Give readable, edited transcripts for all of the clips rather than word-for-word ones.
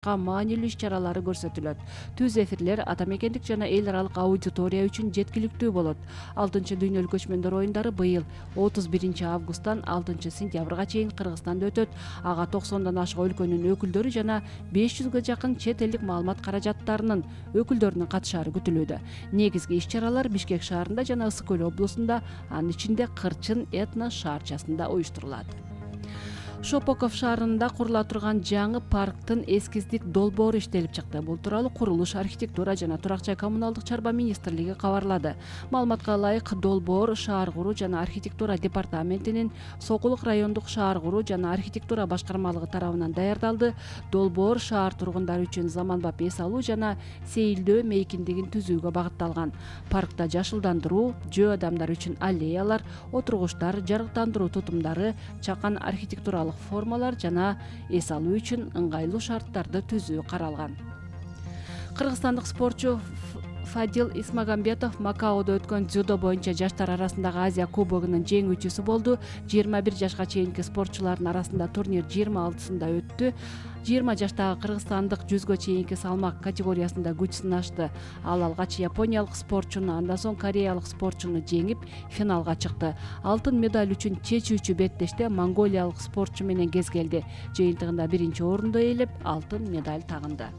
маанилүү иш-чаралары көрсөтүлөт. Түз эфирлер ата мекендик жана эл аралык аудитория үчүн жеткиликтүү болот. 6 дүйнөлүк көчмөндөр оюндары быйыл 31 августтан 6 сентябрга чейин Кыргызстанда өтөт. Ага 90дан ашык өлкөнүн өкүлдөрү жана 500га жакын чет элдик маалымат каражаттарынын өкүлдөрүнүн катышаары күтүлүүдө. Негизги иш-чаралар Бишкек шаарында жана Ысык көл облусунда, анын ичинде Кырчын этно шаарчасында уюштурулат. Шопоков шаарында курула турган жаңы парктын эскиздик долбоору иштелип чыкты. Бул тууралуу Курулуш, архитектура жана турак-жай коммуналдык чарба министрлиги кабарлады. Маалыматка ылайык, долбоор шаар куруу жана архитектура департаментинин Сокулук райондук шаар куруу жана архитектура башкармалыгы тарабынан даярдалды. Долбоор шаар тургундары үчүн заманбап эс алуу жана сейилдөө мейкиндигин түзүүгө багытталган. Паркта жашылдандыруу, жөө адамдар үчүн аллеялар, отургучтар, жарыктандыруу тутумдары, чакан архитектуралык формалар жана эс алуу үчүн ыңгайлуу шарттарды түзүү каралган. Кыргызстандык спортчу Фадил Исмагамбетов Макаодо өткөн дзюдо боюнча жаштар арасындагы Азия кубогунун жеңүүчүсү болду. 21 жашка чейинки спортчулардын арасында турнир 26-сында өттү. 20 жаштагы кыргызстандык 100га чейинки салмак категориясында күч сынашты. Ал алгач япониялык спортчуну, андан соң кореялык спортчуну жеңип, финалга чыкты. Алтын медаль үчүн чечүүчү беттеште монголиялык спортчу менен кезгелди. Жыйынтыгында 1-орунду ээлеп, алтын медаль тагынды.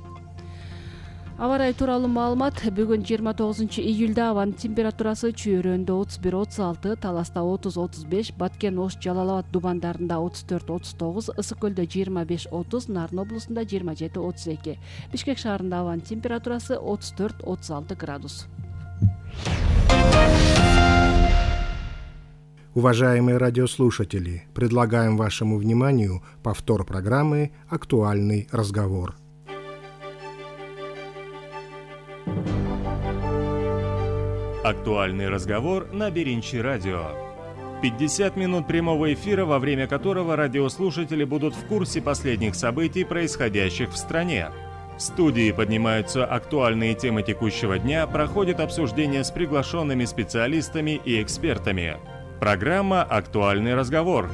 Аба ырайы тууралуу маалымат. Бүгүн 29-июлда абанын температурасы Чүйөрөндө 31-36, Таласта 30-35, Баткен, Ош, Жалал Абад дубандарында 34-39, Ысык көлдө 25-30, Нарын облусунда 27-32. Бишкек шаарында абанын температурасы 34-36 градус. Уважаемые радиослушатели, предлагаем вашему вниманию повтор программы «Актуальный разговор». Актуальный разговор на Беринчи радио. 50 минут прямого эфира, во время которого радиослушатели будут в курсе последних событий, происходящих в стране. В студии поднимаются актуальные темы текущего дня, проходит обсуждение с приглашенными специалистами и экспертами. Программа «Актуальный разговор».